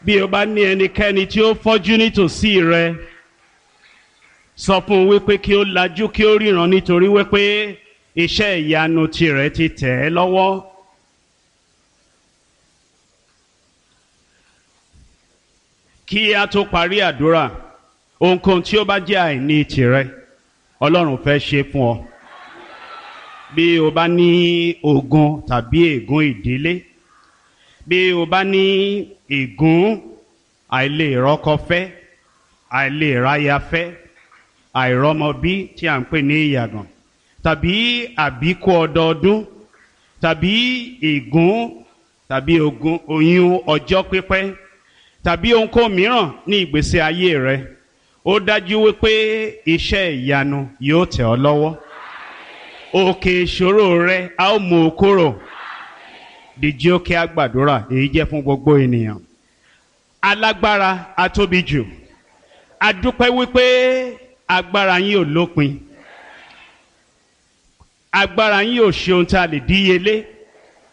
Bí o bá ní ẹnikẹ́ni tí ó fọ́jú nítòsí rẹ, sọ fún un wípé kí ó lajú kí ó ríran, nítorí wípé iṣẹ́ ìyanu tirẹ̀ ti tẹ̀ ẹ́ lọ́wọ́. Kí a tó parí àdúrà, ohunkóhun tí ó bá jẹ́ àìní tirẹ̀, Ọlọ́run fẹ́ ṣe fún ọ. Bí o bá ní ogun tàbí ègún ìdílé, bí o bá ní ègún àìlèrọ́kọfẹ́, àìlèráyafẹ́, àìrọ́mọbí tí à ń pè ní ìyàgàn, tàbí àbíkú ọdọọdún, tàbí ègún tàbí ogun oyún ọjọ́ pípẹ́, tàbí ohunkóhun mìíràn ní ìgbésí ayé rẹ, ó dájú wípé iṣẹ́ ìyanu yóò tẹ̀ ọ́ lọ́wọ́. Òkè ìṣòro rẹ a ó mú o kúrò. Dìjí ó kí á gbàdúrà, èyí jẹ́ fún gbogbo ènìyàn. Alágbára atóbi jù, a dúpẹ́ wípé agbára yín ò lópin, agbára yín ò ṣe ohun tá a lè díyelé.